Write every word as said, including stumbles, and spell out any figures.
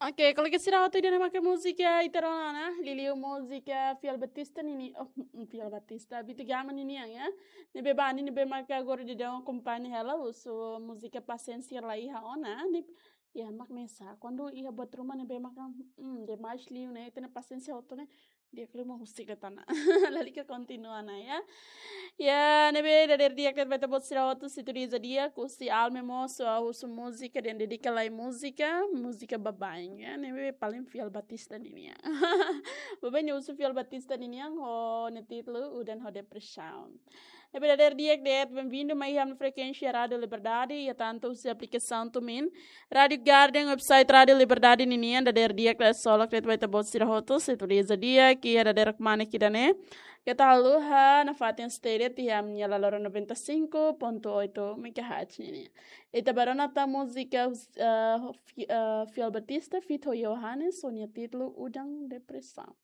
Oke, kolega sira hotu ida-ne'e maka múzika ita rona ona, liuliu múzika Fiel Batista ninian, oh, Fiel Batista, Beto Gama ninian, ya. Ne'ebé ba, ne'ebé maka agora daudaun akompaña hela husu múzika Pasiénsia La Iha Ona, ne'e, ya, mak ne'e sá. Kuandu iha buat ruma ne'ebé maka, hmm, demais liu ne'e, ita-nia pasiénsia hotu ne'e, di'ak liu mak husik de'it ona. Lalika kontinua ona, ya. Ya, ne'ebé dadeer di'ak de'it ba ita-boot sira hotu, se tudu iha di'ak, husi Alme mós, ah, husu múzika, dehan dedika lai múzika, múzika baibain, ya. Ne'ebé paling Fiel Batista ninian. Baibain ne'e husu Fiel Batista ninian, ho nia títulu Udan ho Depresaun. Ne'ebé dadeer di'ak de'it, benvindu mai iha ami-nia frekuénsia Rádiu Liberdade, iha tantu husi aplikasaun TuneIn, Rádiu Garden, website Rádiu Liberdade ninian, dadeer di'ak de'it, ksolok de'it ba ita-boot sira hotu, se tudu iha di'ak, iha dadeer kmanek ida-ne'e. Keta haluha nafatin stay de'it iha ami-nia Lalora noventa e cinco ponto oito megahertz ninian. Ita bá rona tan múzika, eh, Fi-, eh, Fiel Batista, feat ho Johannes, ho nia títulu Udan Depresaun.